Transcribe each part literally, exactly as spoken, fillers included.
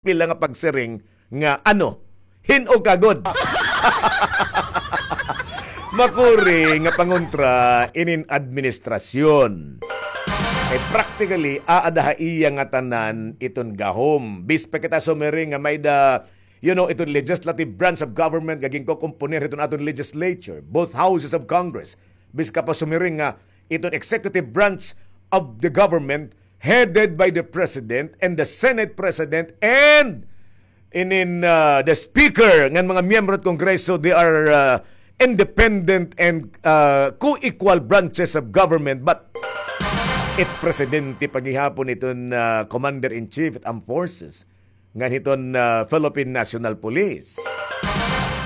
pila nga pagsiring nga ano, hin-o ka gud. Makuri nga pangontra inin administrasyon. Kay practically, aada ha iya ngatanan iton gahom. Bisan pa kita sumiring nga may-ada, you know, iton legislative branch of government nga ginkokomponer hiton aton legislature, both houses of Congress. Bisan ka pa sumiring nga iton executive branch of the government headed by the president and the Senate president and inin, uh, the speaker ngan mga miyembro hit Kongreso, they are, uh, independent and, uh, co-equal branches of government. But it presidente pa gihapon iton, uh, commander-in-chief hit armed forces ngan hiton, ah, Philippine National Police.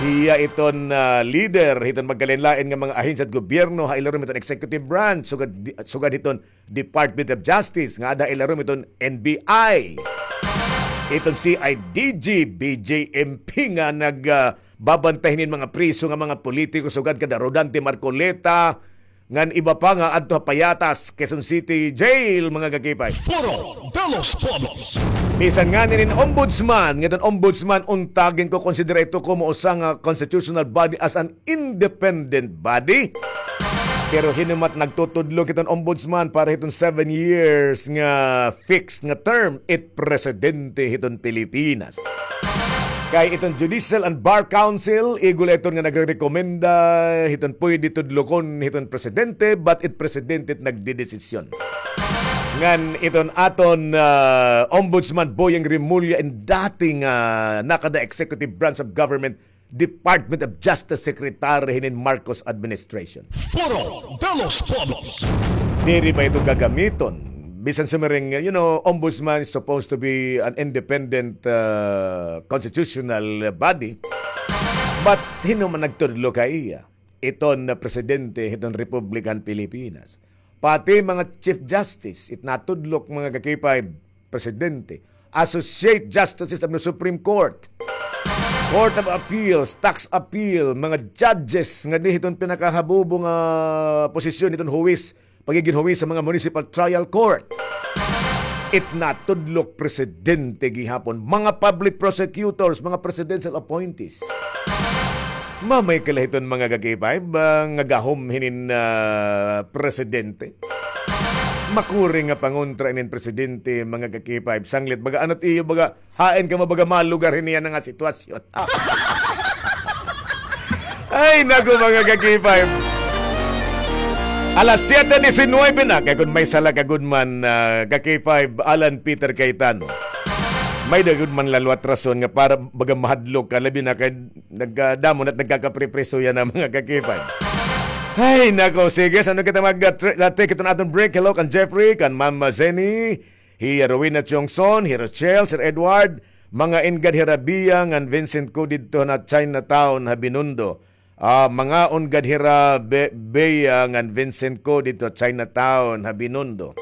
Hiya iton, ah, leader hiton magkalain-lain nga mga ahensya hit gobyerno ha ilarom hiton executive branch, sugad, sugad hiton Department of Justice, nga aada ha ilarom hiton N B I. Iton C I D G, B J M P nga nag, ah, babantay hinin mga priso nga mga politiko, sugad kan Rodante Marcoleta, ngan iba pa nga adto ha Payatas, Quezon City Jail, mga kakipay. Foro de los Pueblos. Bisan ngani inin ombudsman, ngiton ombudsman, unta ginkokonsidera ito komo usa nga constitutional body as an independent body. Pero hin-o man it nagtutudlo hiton ombudsman para hiton seven years nga fixed nga term, it presidente hiton Pilipinas. Kay iton Judicial and Bar Council, igo la iton nga nagrerekomenda hiton pwede tudlokon hiton presidente, but it presidente it nagdedesisyon. Ngan iton aton, ah, Ombudsman Boying Remulla, in dati nga, ah, nakada executive branch of government, Department of Justice Secretary hinin Marcos administration. Foro de los Pueblos. Diri ba ito gagamiton? Bisan sumiring, you know, ombudsman is supposed to be an independent, uh, constitutional body. But hin-o man nagtudlo ha iya? Iton presidente hiton Republika han Pilipinas. Pati mga Chief Justice, it natudlok, mga kakipay, presidente, Associate Justices of the Supreme Court, Court of Appeals, Tax Appeal, mga judges nga dinhi hiton pinakahabubo nga posisyon hiton huwis, pagigin huwis sa mga municipal trial court. It natudlok presidente gihapon, mga public prosecutors, mga presidential appointees. Mamay ka la hiton mga kakipay, ba nga gahom hinin, ah, presidente. Makuri nga pangontra inin presidente, mga kakipay. Sanglit, baga, ano it iyo, baga, hain kamo, baga, malugar hini yana nga sitwasyon. Ay, naku, mga kakipay. Alas siyete disinuybe na. Kay kun may sala ka gud man, ah, kakipay, Alan Peter Cayetano. May-ada gud man la liwat rason nga para baga mahadlok ka, labi na kay nagkadamo na it nagkakapripriso yana, mga kakipay. Ay, nako, sige, san-o kita mag, ah, tr-, ah, take iton aton break. Hello kan Jeffrey, kan Mama Zenny, hi Rowena Chongson, hi Rochelle, Sir Edward, mga in-gad hira Bia ngan Vincent ko didto na Chinatown ha Binondo. Ah, mga in-gad hira Be-, Bea ngan Vincent ko didto Chinatown ha Binondo.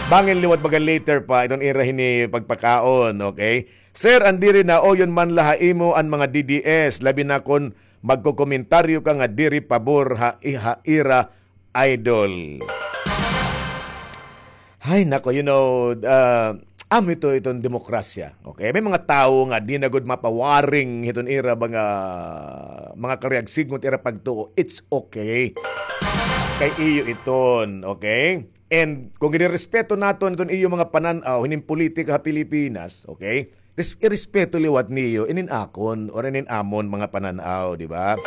Bangin liwat baga later pa, iton ira hini pagpakaon, okay? Sir, an diri nauyon man la ha imo an mga D D S, labi na kon magkokomentaryo ka nga diri pabor ha, ha ira idol. Ay, nako, you know, ah, amo ito, iton demokrasya. Okay? May mga tawo nga di na gud mapawaring hiton ira mga, mga karuyag sidngon it ira pagtuo. It's okay. Kay iyo iton, okay? And kung irerespeto naton iton iyo mga panan-aw hinin politika ha Pilipinas, okay? Res-, irespeto liwat niyo inin akon or inin amon mga panan-aw, di ba?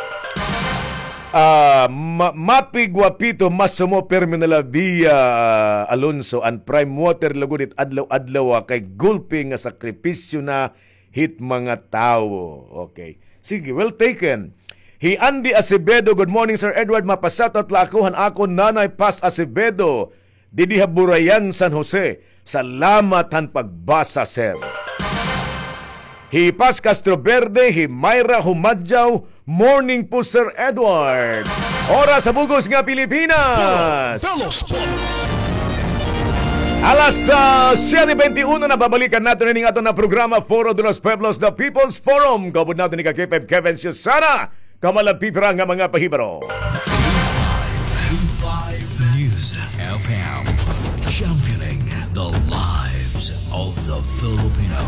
Ah, ma-, Mapi Guapito, Masumo Permi na la Via, ah, Alonso, an prime water lugod it adlaw-adlaw, ah, kay gulpi nga sakripisyo na hit mga tawo. Okay. Sige, well taken. Hi Andy Acevedo, good morning, Sir Edward. Mapa-shoutout la ako han akon Nanay Paz Acevedo. Didi ha Burayan, San Jose. Salamat han pagbasa, sir. Hi Paz Castro Verde, hi Myra Humadyaw, morning po, Sir Edward. Oras sa bug-os nga Pilipinas. Alas, ah, siyete beintiuno na, babalikan naton ini nga aton nga programa, Foro de los Pueblos, The People's Forum. Kaupod naton ni ka K five Kevin Susana. Kamalan pipira nga mga pahibaro. K five News F M, championing the lives of the Filipino.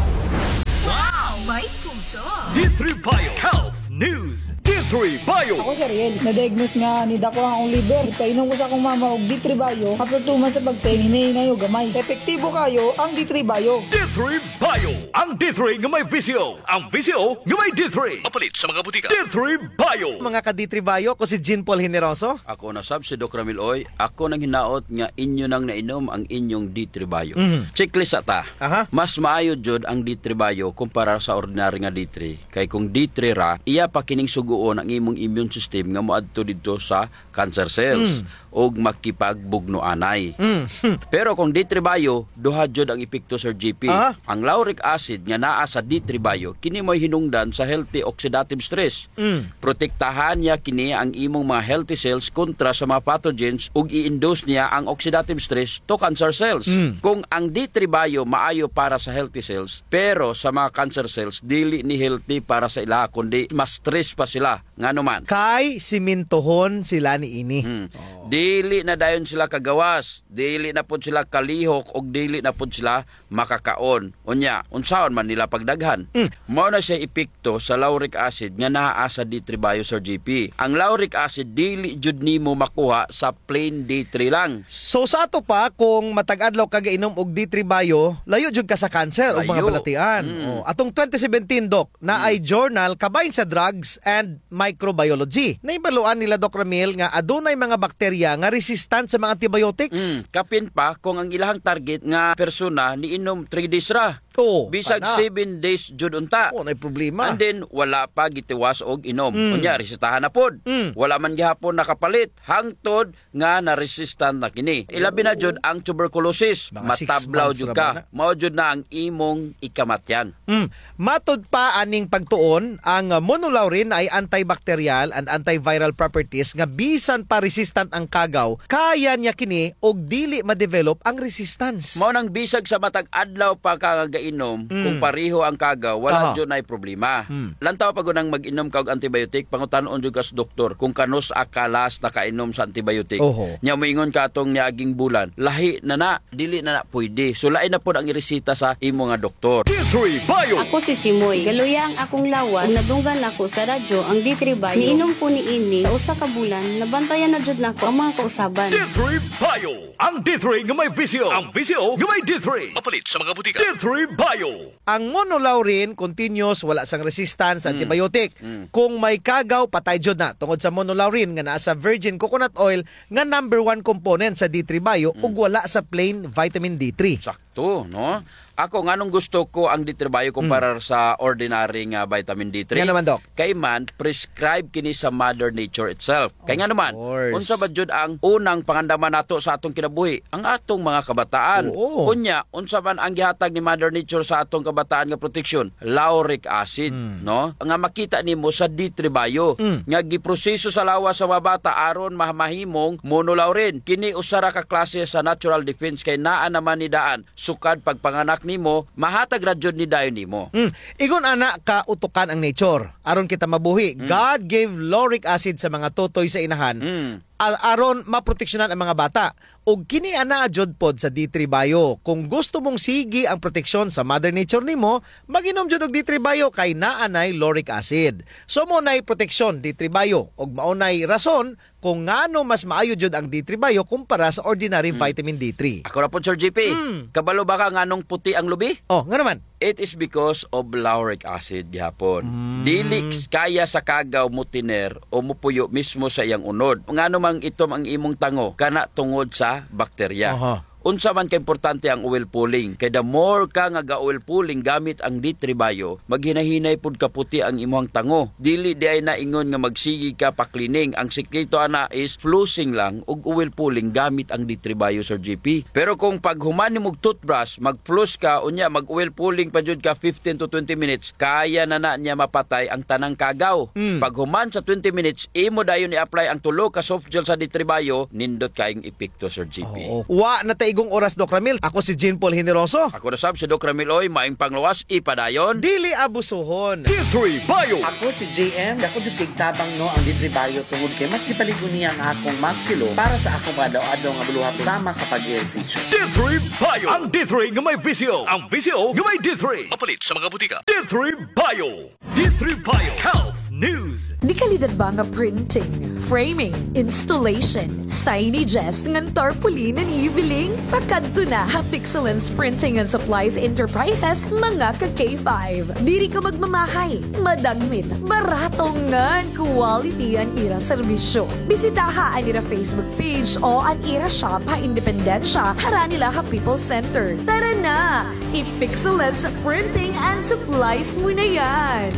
D three Bio Health News. D three Bio. Ako si Ariel. Na-diagnose nga nidako an akon liver. Ipainom ko sa akon mama og D three Bio. After two months sa pag-take, hinay-hinay o gamay. Epektibo kayo ang D three Bio. D three Bio. Ang D three nga may V C O. Ang V C O nga may D three. Mapalit sa mga butika. D three Bio. Mga ka-D three Bio, ako si Jean Paul Generoso. Ako na sab si Doc Ramil Oy. Ako nanghinaot nga inyo nang nainom ang inyong D three Bio. Mhm. Checklist sa ta. Aha. Mas maayo jud ang D three Bio kumpara sa ordinary nga D three. Kay kung D three ra, iya pa kining sugoon ang imong immune system nga moadto didto sa cancer cells Mm. ug makipagbugno anay. Mm. Pero kung D three Bio, duha jud ang epekto, Sir G P. Aha. Ang lauric acid nga naa sa D three Bio, kini mo'y hinungdan sa healthy oxidative stress. Mm. Protektahan niya kini ang imong mga healthy cells kontra sa mga pathogens ug i-induce niya ang oxidative stress to cancer cells. Mm. Kung ang D three Bio maayo para sa healthy cells, pero sa mga cancer cells, dili ni healthy para sa ila, kundi mas stress pa sila. Ngano man? Kay simintohon sila niini. Hmm. Oh. Dili na dayon sila kagawas, dili na pod sila kalihok, ug dili na pod sila makakaon. Unya, unsaon man nila pagdaghan? Mm. Mao na siya epekto sa lauric acid nga naa sa D three Bio, Sir G P. Ang lauric acid dili jud nimo makuha sa plain D three lang. So, sa ato pa, kung matag adlaw ka gainom og D three Bio, layo jud ka sa cancer o mga Layo. balatian. Mm. Oh, atong twenty seventeen, Doc, na Mm. ay journal kabahin sa drugs and microbiology. Nahibaluan nila, Doc Ramil, nga adunay mga bakterya nga resistant sa mga antibiotics. Mm, kapin pa kung ang ilahang target nga persona niinom three days ra. Oo, Bisag kana. seven days jud unta. Oo, nay problema. And then, wala pa gitiwas og inom. Mm. Unya, resetahan na pod. Mm. Wala man gihapon nakapalit. Hangtod nga na-resistant na kini. Ilabi na Oo. jud ang tuberculosis. Mga six Matablaw months jud ra ka. ba na? Mao jud na ang imong ikamatyan. Mm. Matud pa aning pagtuon, ang monolaurin ay antibacterial and antiviral properties nga bisan pa resistant ang kagaw, kaya niya kini og dili ma-develop ang resistance. Mao nang bisag sa matag adlaw pa ka nga gainom, Mm. kung pareho ang kagaw, wala Aha. jud nay problema. Mm. Lantaw pa gud nang mag-inom ka og antibiotic, pangutan-on jud ka sa doktor kung kanus-a ka last nakainom sa antibiotic. Oho. Nya moingon ka atong niaging bulan, lahi na na, dili na na pwede. So, lain na pod ang iresita sa imo nga doktor. D three Bio. Ako si Chimoy. Galuya ang akong lawas ug nadunggan nako sa radyo ang D three Bio. Niinom ko niini sa usa ka bulan, nabantayan na jud nako ang mga kausaban. D three Bio. Ang D three nga may V C O. Ang V C O nga may D three. Mapalit sa mga butika. D three Bio. Ang monolaurin, continuous, wala sang resistance sa Mm. antibiotic. Mm. Kung may kagaw, patay jud na. Tungod sa monolaurin nga naa sa virgin coconut oil, nga number one component sa D three Bio Mm. ug wala sa plain vitamin D three. Sakto, no? Ako, nganong gusto ko ang D three Bio kumpara Mm. sa ordinary nga vitamin D three? Nga naman, Doc? Kay man, prescribe kini sa Mother Nature itself. Kay Of nga naman, course. unsa ba jud ang unang pangandaman nato sa atong kinabuhi? Ang atong mga kabataan. Oo. Unya, unsa man ang gihatag ni Mother Nature sa atong kabataan nga proteksyon? Lauric acid, Mm. no? Nga makita nimo sa D three Bio, Mm. nga giproseso sa lawas sa mga bata aron ma-, mahimong monolaurin. Kini usa ra ka klase sa natural defense kay naa naman ni daan sukad pagpanganak nimo, mahatag ra jud ni dayon nimo. Mm. Ingon ana ka utukan ang nature aron kita mabuhi. Mm. God gave lauric acid sa mga tutoy sa inahan Mm. a-, aron maproteksyonan ang mga bata. Ug kini anaa jud pod sa D three Bio. Kung gusto mong sige ang proteksyon sa Mother Nature nimo, mag-inom jud og D three Bio kay naa nay lauric acid. So, mao nay proteksyon, D three Bio, ug mao nay rason kung ngano mas maayo jud ang D three Bio kumpara sa ordinary Mm. vitamin D three. Ako ra pod, Sir G P. Mm. Kabalo ba ka nganong puti ang lubi? Oh, ngano man? It is because of lauric acid gihapon. Mm. Dili kaya sa kagaw motiner o mopuyo mismo sa iyang unod. Ngano mang itom ang imong tango, kana tungod sa bakterya. Aha. Unsa man kaimportante ang oil pulling? Kay the more ka nga ga-oil pulling gamit ang D three Bio, maghinahinay pud kaputi ang imuhang tango. Dili diay na ingon nga magsige ka pa-cleaning. Ang sikreto ana is flossing lang ug oil pulling gamit ang D three Bio, Sir G P. Pero kung paghuman nimog toothbrush, mag-floss ka, unya mag-oil pulling pa jud ka fifteen to twenty minutes, kaya na na niya mapatay ang tanang kagaw. Mm. Paghuman sa twenty minutes, imo dayon i-apply ang tulo ka soft gel sa D three Bio, nindot kaayong epekto, Sir G P. Oo. Wa na tay Gung oras, Doc Ramil. Ako si Jean Paul Generoso. Ako na sab si Doc Ramil Oy, maayong panglawas, ipadayon. Dili abusuhon. D three Bio. Ako si J M. Dako jud kay tabang, no, ang D three Bio tungod kay mas gipaligo niya ang akong musculo para sa akong pangadaw-adlaw nga buluhaton sama sa pag-ehersisyo. D three Bio. Ang D three nga may V C O. Ang V C O nga may D three. Mapalit sa mga butika. D three Bio. D three Bio Health News. Dekalidad ba nga printing, framing, installation, signages ngan tarpaulin an ibiling? Pakadto na ha Pixelance Printing and Supplies Enterprises, mga ka K five. Diri ka magmamahay, madagmit, barato ngan quality an ira serbisyo. Bisitaha an ira Facebook page o an ira shop ha Independencia, harani la ha People's Center. Tara na! I-Pixelance Printing and Supplies mo na yan!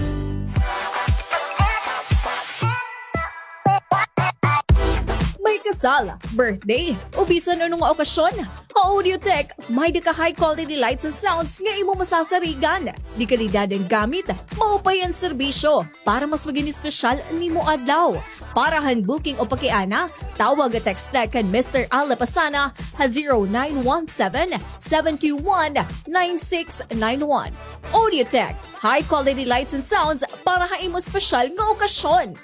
May kasal, birthday, o bisan ano nga okasyon, ha Audiotech, may-ada ka high quality lights and sounds nga imo masasarigan. Dekalidad an gamit, maupay an serbisyo. Para mas maging espesyal an imo adlaw. Para han booking o pakiana, tawag o text na kan Mister Al Lapasana ha zero nine one seven, seven two one, nine six nine one. Audiotech, high quality lights and sounds para ha imo espesyal nga okasyon.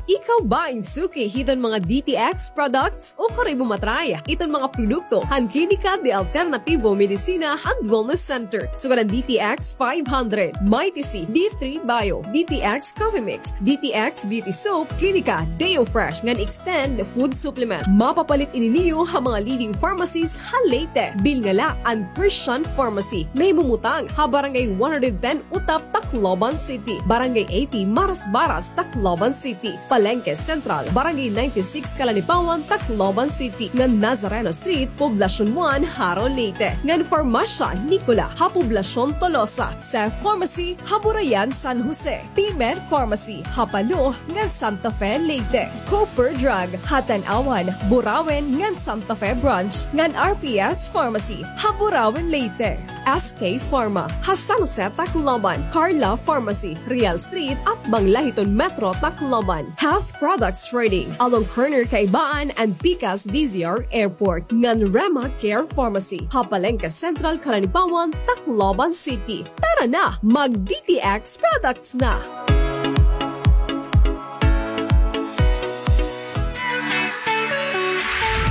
Ikaw ba in suki hiton mga D T X products? Ukari mo ma-try iton mga produkto han Klinika de Alternativo Medicina and Wellness Center. Sugad an D T X five hundred, Mighty C, D three Bio, D T X Coffee Mix, D T X Beauty Soap, Klinika Deo Fresh ngan Extend Food Supplement. Mapapalit ini niyo ha mga leading pharmacies ha Leyte. Bilnga la an Christian Pharmacy. Nahimumutang ha Barangay one hundred ten Utap, Tacloban City, Barangay eighty Marasbaras, Tacloban City, Palenque Central, Barangay ninety-six Calanipawan, Tacloban City, ngan Nazareno Street, Poblacion one, Jaro, Leyte, ngan Farmacia Nicola ha Poblacion Tolosa, Seth Pharmacy ha Burayan, San Jose, P-Med Pharmacy ha Palo ngan Santa Fe, Leyte, Cooper Drug ha Tanauan, Burauen ngan Santa Fe Branch, ngan R P S Pharmacy ha Burauen, Leyte. S K Pharma ha San Jose, Tacloban, Carla Pharmacy, Real Street, atbang la hiton Metro Tacloban. Health Products Trading, along corner Kaibaan and Pikas D Z R Airport, ngan Rema Care Pharmacy ha Palenque Central, Calanipawan, Tacloban City. Tara na, mag D T X products na!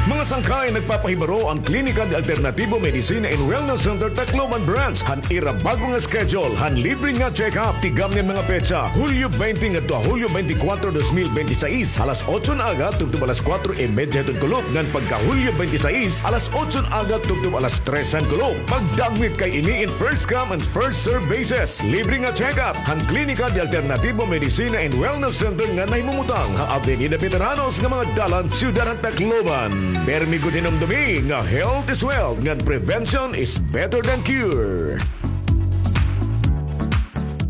Mga sangkay, nagpapahibaro an Klinika de Alternativo Medicina and Wellness Center Tacloban Branch han ira bag-o nga schedule han libre nga check-up. Tigamni an mga petsa, Hulyo twenty ngadto ha Hulyo twenty-four, dos mil bente seis, alas otso han aga tubtob alas kuwatro y medya hiton kulop, ngan pagka Hulyo twenty-six, alas otso han aga tubtob alas tres han kulop. Pagdagmit kay ini in first come and first serve basis. Libre nga check-up han Klinika de Alternativo Medicina and Wellness Center nga nahimumutang ha Avenida Veteranos nga mga dalan, Siyudad han Tacloban. Permi gud hinumdumi nga health is wealth ngan prevention is better than cure.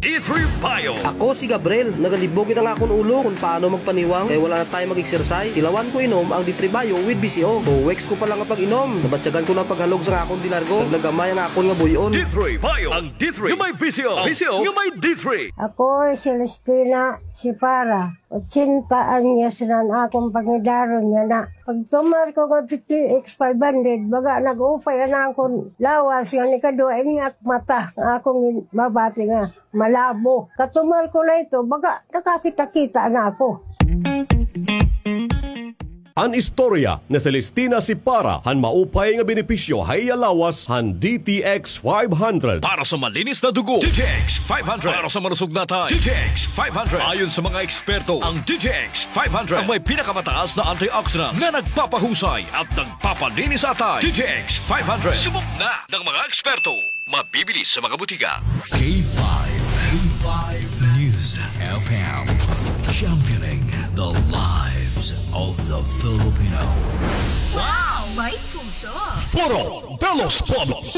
D three Bio. Ako si Gabriel. Nagalibog gud an akon ulo kon paano magpaniwang kay wala na tayo mag-exercise. Tilawan ko inom ang D three Bio with V C O. Two weeks ko pa lang nga pag-inom, nabatyagan ko na an paghalog sa akon dinargo. Naglagamay an akon nga buy-on. D three Bio. Ang D three nga may V C O. V C O nga may D three. Ako si Celestina Sipara. Ochenta anyos na an akon pangidaron yana. Pagtumar ko nga D T X five hundred, baga nag-upay an akon lawas, nga nikaduha ini ak mata, nga akon mabati nga malabo. Katumar ko na ito, baga nakakita-kita na ako. An istorya ni Celestina Sipara han maupay nga benepisyo ha iya lawas han D T X five hundred. Para sa malinis na dugo, D T X five hundred. Para sa malusog na atay, D T X five hundred. Ayon sa mga eksperto, ang D T X five hundred ang may pinakamataas na antioxidants na nagpapahusay at nagpapalinis sa atay. D T X five hundred. Subok na ng mga eksperto. Mabibili sa mga butika. K five, K five News F M, championing the lives of the Filipino. Wow! May puso! Foro de los Pueblos.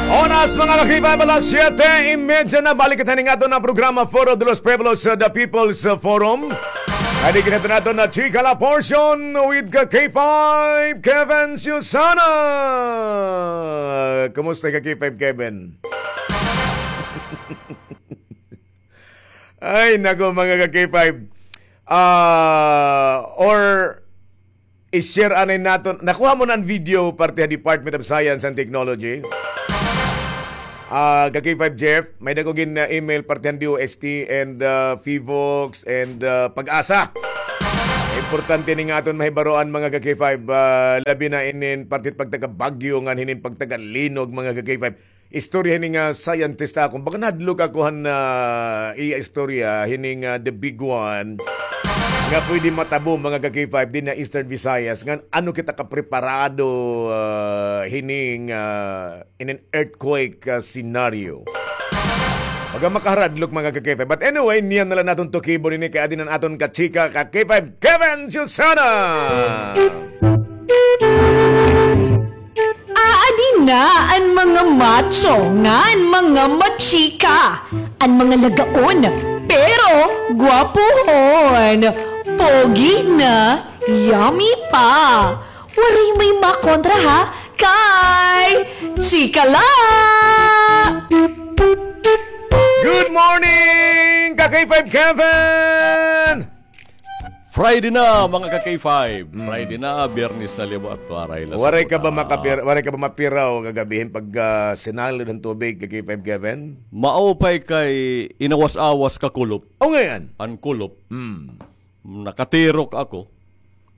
Oras, mga ka-K five, alas siyete y medya na. Balik kita ning aton nga programa, Foro de los Pueblos, uh, The People's, uh, Forum. Adi kita naton na chika la portion with ka K five, Kevin Susana. Kumusta ka K five, Kevin? Ay, nako, mga ka-K five. Ah, or i-share anay naton. Nakuha mo na an video parte ha Department of Science and Technology? Ah, ka-K five Jeff, may-ada ko gin, ah, email parte han D O S T and, ah, PHIVOLCS and, ah, PAGASA. Importante ini nga aton mahibaroan, mga ka-K five, ah, labi na inin parte pagtaga Baguio ngan hinin pagtaga Linog, mga ka-K five. Istorya hini nga scientist akon. Baga nahadlok ako han, ah, iya istorya, hini nga the big one nga pwede matabo, mga ka-K five, dinhi ha Eastern Visayas. Ngan ano kita kapreparado, ah, hini nga, ah, in an earthquake, ah, scenario. Baga makaharadlok, mga ka-K five. But anyway, niyan na la naton tukibon ini kay adi na an aton kachika, ka-K five Kevin Susana. Aadi na an mga macho ngan mga machika, an mga lagaon pero gwapuhon, pogi na, yummy pa. Waray may makontra ha, kay chika la! Good morning, ka-K five Kevin! Friday na, mga ka-K five. Mm. Friday na, Biyernes na liwat. Waray la. Waray ka ba makapir-, waray ka ba mapiraw kagab-i hin pag, ah, sinalod han tubig, ka-K five Kevin? Maupay kay inawas-awas kakulop. O, ngay-an? An kulop. Mm. Nakatirok ako.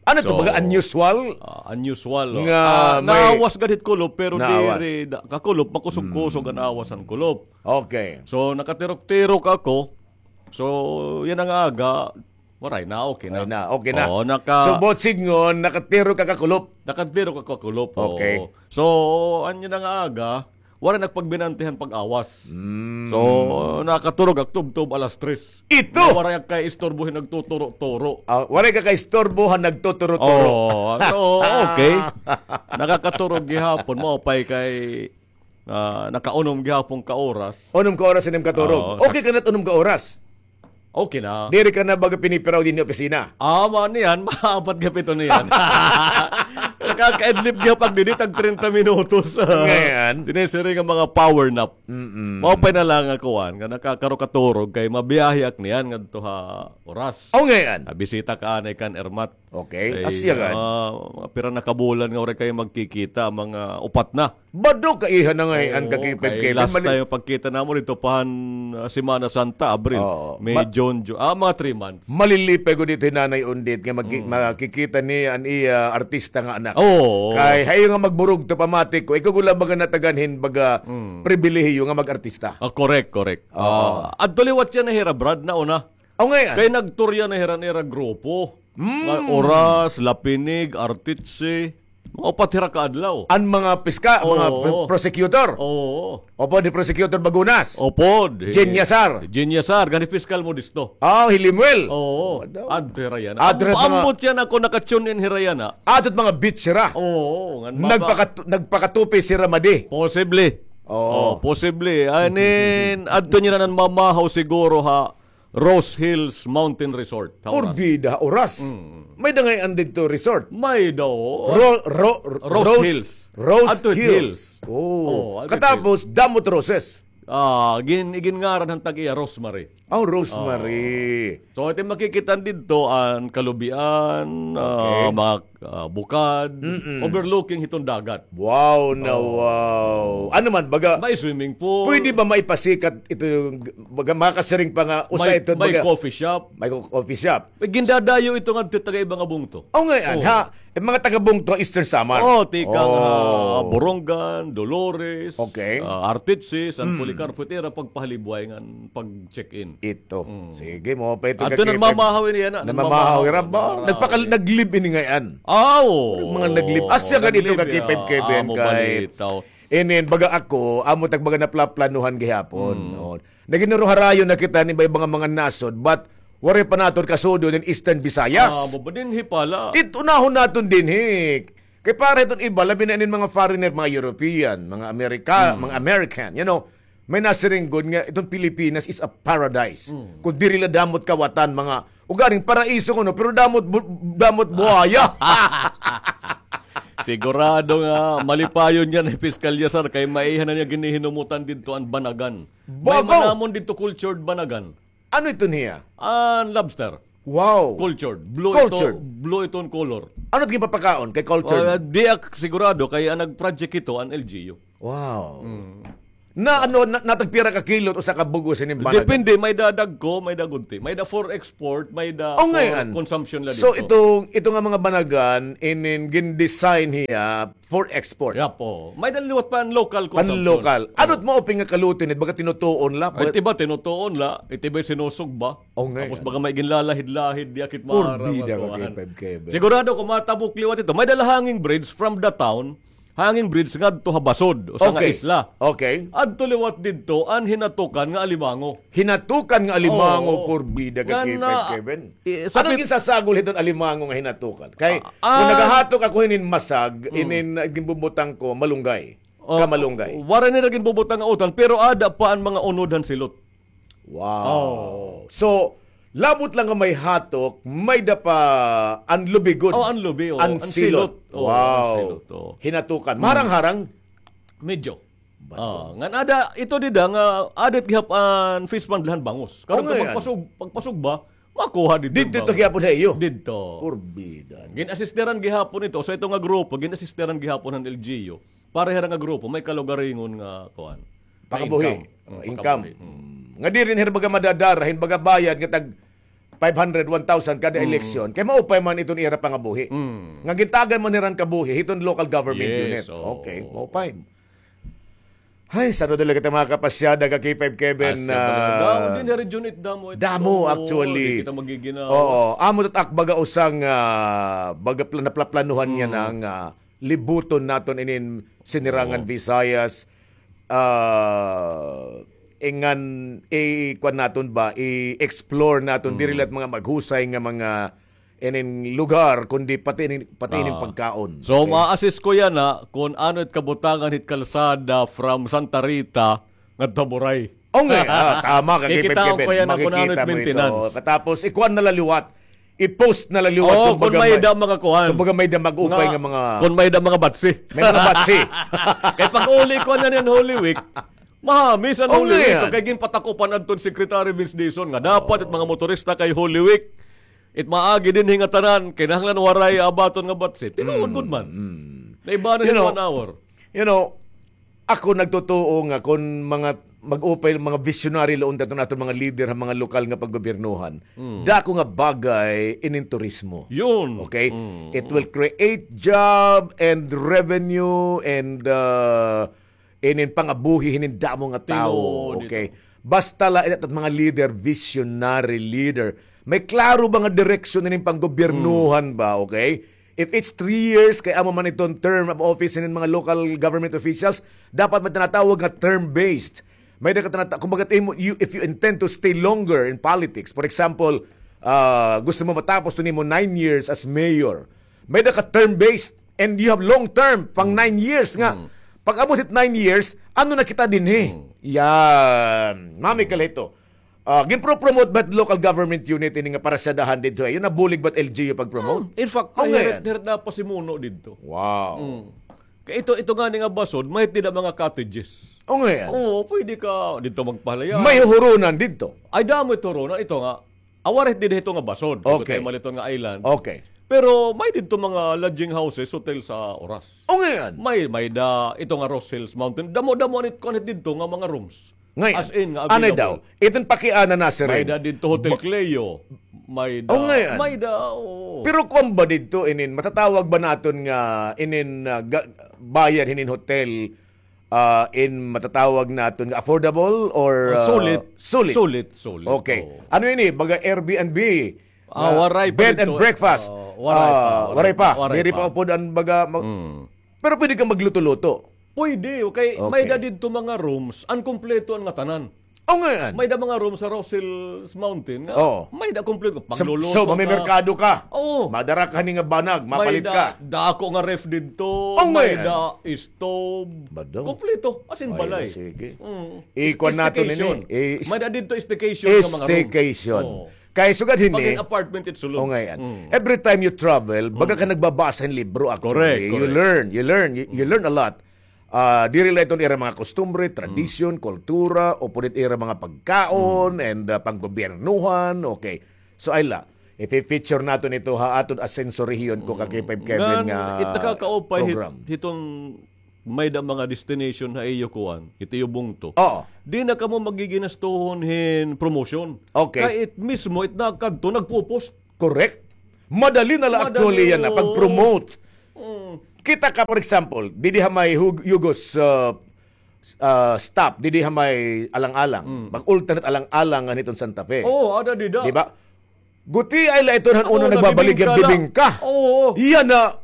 Ano to, baga unusual? Ah, unusual, oh. Nga may naawas gad hit kulop, pero diri da-, kakulop, makusog-kusog an awas han kulop. Okay. So, nakatirok-tirok ako. So, yana nga aga, waray na, okay na. Waray na, okay na. Oo, naka- So, buot sidngon, nakatirok ka kakulop? Nakatirok ako kakulop, oo. Okay. So, an yana nga aga, waray nagpagbinanti han pag-awas. Mm. So, nakaturog ak tubtob alas tres. Ito! Nga waray ak kay istorbo hin nagtuturo-turo. Ah, waray ka kay istorbo han nagtuturo-turo. Oo, so, okay. Nakakaturog gihapon, maupay kay, ah, nakaunom gihapon ka oras. Unom ka oras an im katurog. Oo, okay ka na it unom ka oras? Okay na. Diri ka na baga pinipiraw dinhi opisina? Ah, man, niyan, maapat gihap ito niyan. Nakakaidlip gihap ak didi, tag treinta minutos. Ngay-an. Sinisiring an mga power nap. Mm-mm. Maupay na la nga kuan, nga nakakarukaturog kay mabiyahe ak niyan ngadto ha Oras. O, ngay-an. Ah, bisita ka anay kan Ermat. Okay. Ay, asya gad. Ah, pira na ka bulan nga waray kay magkikita, mga upat na. Bado ka iha na ngay-an, ka-K five Kevin. Last time pagkita namo didto pa han, ah, Semana Santa, Abril, May, June, Ju-, ah, mga three months. Malilipay gud ito hi Nanay Undit nga magki-, makikita niya an iya artista nga anak. Oo. Kay hayo nga magburugto, pamati ko, ikaw gud la baga natagan hin baga pribilehiyo nga mag-artista. Ah, correct, correct. Oo. Ah, adto liwat yana hira, Brad, nauna. Aw, ngay-an. Kay nag-tour yana hira, hira grupo. Mm. Nga Oras, Lapinig, Artitsi. Mga upat hira ka adlaw. An mga piska-, mga prosecutor. Oo. Upod hi Prosecutor Bagunas. Upod. Jin Yasar. Jin Yasar, ngan hi Piskal Modesto. Ah, hi Lemuel. Oo. Adto hira yana. Adto hira yana. Ambot yana ako naka-tune in hira yana. Adto it mga beach hira. Oo, ngan mama. Nagpakat-, nagpakatupi hira madi. Posible. Oo. Oh, posible. Anin, adto niyan an mamahaw siguro ha Rose Hills Mountain Resort, ha Oras. Porbida, ha Oras. Mm. May-ada ngay-an didto resort? May-ada, oo. Ro-, ro-, Rose Hills. Rose Hills. Oo, adto it Hills. Katapos, damo it roses. Ah, gin-, iginngaran han tag-iya, Rosemary. Oh, Rosemary. Oo. So, ito it makikita didto, an kalubian, ah, mga ah, bukad, overlooking hiton dagat. Wow na wow. Ano man, baga, may swimming pool. Pwede ba maipasikat ito, baga, makasiring pa nga usa ito, may baga, coffee shop. May co-, coffee shop. May gindadayo ito ngadto taga-iba nga bungto. Oh, ngay-an, ha? Mga taga-bungto, Eastern Samar. Oh, tikang, ah, Borongan, Dolores, ah, Arteche, San Policarpo, ito ira pagpahalibway ngan pag-check-in. Ito. Mm. Sige, maupay ito. Adto namamahaw ini yana. Namamahaw, ira ba? Nagpakal-, nag-live ini ngay-an. Aw. Mga nag-live. Asya gad ito ka-K five Kevin kay. Inin, baga ako, amo it ak baga naplaplanuhan gihapon. Oh. Nagin-, harayo na kita hin iba-iba nga mga nasod, but waray pa naton kasudod hin Eastern Visayas. Ah, amo ba dinhi pala? It unahon naton dinhi. Kay para hiton iba, labi na inin mga foreigner, mga European, mga Amerika-, mga American, you know, may nasiring gud nga iton Pilipinas is a paradise. Mm. Kun diri la damo it kawatan, mga ugaring paraiso kuno, pero damo it bu-, damo it buhaya. Sigurado nga malipayon niyan hi Piskal Yasar kay maiha na niya ginihinumutan didto an banagan. May man namon didto cultured banagan. Ano ito niya? An lobster. Wow. Cultured. Blue ito, Cultured. Blue ito an color. Ano it ginpapakaon kay cultured? Ah, di ak sigurado kay an nag-project ito an L G U. Wow. Na ano, na, natagpira ka kilo usa ka bug-os hini nga banagan? Depende, may-ada dagko, may-ada gunti. May-ada for export, may-ada for consumption la didto. So, itong, ito nga mga banagan, inin gin-design hiya for export. Yap, oo. May-ada liwat pan-local consumption. Pan-local. Ano it maupay nga kaluto ini, baga tinutuon la? It iba tinutuon la, it iba sinusugba. Tapos baga may ginlalahid-lahid, di akit maaram. Porbida ka, K five Kevin. Sigurado kon matabok liwat ito. May-ada la hanging bridge from the town. Hanging bridge ngadto ha Basod, usa nga isla. Okay. Adto liwat didto an hinatukan nga alimango. Hinatukan nga alimango, porbida ka, K five Kevin. Ano it ginsasagol hiton alimango nga hinatukan? Kay kon nagahatok ako hinin masag, inin ginbubutang ko, malunggay. Kamalunggay. Waray nira ginbubutang nga utan, pero aada pa an mga unod han silot. Wow. So, labot la nga may hatok, may-ada pa an lubi gud. Oh, an lubi, oh. An silot. Wow. Hinatukan. Maharang-harang? Medyo. Ngan ada, ito dida nga, aada it gihap-, an fish pond la han bangus. Karon pagpasug-, pagpasugba, makuha didto. Didto gihapon ha iyo? Didto. Porbida. Gin-assisteran gihapon ito. So, ito nga grupo, gin-assisteran gihapon han L G U. Para hira nga grupo, may kalugaringon nga, kuan. Pakabuhi. Income. Nga diri na hira baga madadara hin baga bayad nga tag five hundred, one thousand kada eleksyon. Kay maupay man iton ira pangabuhi. Nga gintagan man nira hin kabuhi hiton local government unit. Okay, maupay. Hay, san-o dali kita mga kapasyada ka K five Kevin. Damo din ha region it, damo it. Damo, actually. Di kita magiginawas. Oo, amo it ak baga usa nga, baga pla-, naplaplanuhan niya na nga libuton naton inin Sinirangan Visayas, ah, ingan, i-, kuan naton ba, i-explore naton, diri la it mga maghusay nga mga inin lugar, kundi pati inin, pati inin pagkaon. So, ma-assist ko yana kon ano it kabutangan hit kalsada from Santa Rita ngadto ha Buray. O nga, ah, tama ka, Kevin. Kikitaon ko yana kon ano it maintenance. Katapos, ikuan na la liwat. I-post na la liwat. Oo, kon may-ada mga kuan. Kumbaga may-ada mag-upay nga mga, kon may-ada mga batsi. May mga batsi. Kay pag-uli ko na niyan Holy Week, mahamis an Holy Week. Kay ginpatakupan adton Secretary Vince Dizon nga dapat it mga motorista kay Holy Week, it maagi dinhi nga tanan, kinahanglan waray abaton nga batsi. Tinuod gud man. Naibanan hin one hour. You know, ako nagtutuo nga kon mga mag-upay, mga visionary la unta iton aton mga leader ha mga lokal nga paggobyernohan, dako nga bagay inin turismo. Yun. Okay? It will create job and revenue and, uh, inin pangabuhi hinin damo nga tawo. Okay? Basta la it aton mga leader, visionary leader. May klaro ba nga direksyon inin panggobyernohan ba? Okay? If it's three years, kay amo man iton term of office hinin mga local government officials, dapat may tinatawag nga term-based. May da ka tinata-, kumbaga, imo, you, if you intend to stay longer in politics, for example, ah, gusto mo matapos iton imo nine years as mayor, may da ka term-based, and you have long term, pang nine years nga. Pag-abot hit nine years, ano na kita dinhi? Yan. Mami Kalito. Ah, ginpro-promote ba it local government unit ini nga parasyadahan didto? Ay, yun, nabulig ba it L G U pag-promote? In fact, hirit, hirit na pasimuno didto. Wow. Kay ito, ito ngani nga Basod, may-ada dida mga cottages. O nga yan. Oo, pwede ka didto magpahilayahan. May huhuronan didto. Ay, damo it huronan. Ito nga, waray dida hito nga Basod. Okay. Kay maliton nga island. Okay. Pero may didto mga lodging houses, hotel sa Oras. O nga yan. May, may-ada, ito nga Ross Hills Mountain. Damo-damo an it, kuan hit didto nga mga rooms. Ngay-an. As in, nga available. Anay daw. Iton pakiana na siring. May-ada didto Hotel Cleo. May-ada. O, ngay-an. May-ada, oo. Pero kuan ba didto inin, matatawag ba naton nga inin, ah, ga-, bayad hinin hotel, ah, in matatawag naton nga affordable or, ah, sulit? Sulit. Sulit, sulit. Okay. Oo. Ano ini? Baga Airbnb? Ah, waray pa didto. Bed and breakfast? Oo, waray pa, ah, waray pa. Diri pa upod an baga mag-, pero pwede ka magluto-luto. Pwede, okay. May-ada didto mga rooms, an kumpleto an ngatanan. O, ngay-an. May-ada mga rooms sa Ross Hills Mountain nga may-ada kumpleto. Pagluluto ka. So, mamimerkado ka. Oo. Madara ka hini nga banag, mapalit ka. May-ada dako nga ref didto, may-ada stove. Kumpleto, as in balay. Sige. Ikuan naton ini. May-ada didto staycation nga mga rooms. Staycation. Kay sugad hini. Pag in apartment, it's so long. O, ngay-an. Every time you travel, baga ka nagbabasa hin libro, actually. Correct, correct. You learn, you learn, you, you learn a lot. Ah, diri la iton ira mga kustumbre, tradisyon, kultura, o pud it ira mga pagkaon, and, ah, panggobyernohan, okay. So, ay la, ifi-feature naton ito ha aton Asenso Rehiyon ko ka K five Kevin Ngan, nga it nakakaupay hit-, program. Hitong may da mga destination ha iyo kuan, hit iyo bungto. Oo. Di na kamo magiginastuhon hin promotion. Okay. Kay it mismo, it nakadto, nagpo-post. Correct. Madali na la actually yan na pag-promote. Mm. Kita ka, for example, didi ha may Hug-, Yugos, uh, uh, stop, didi ha may Alang-alang. Mm. Pag-ultan hit Alang-alang nga hiton Santa Fe. Oo, ada dida. Di ba? Gutiay la iton han una nagbabaligya, bibingka. Oo. Iya na,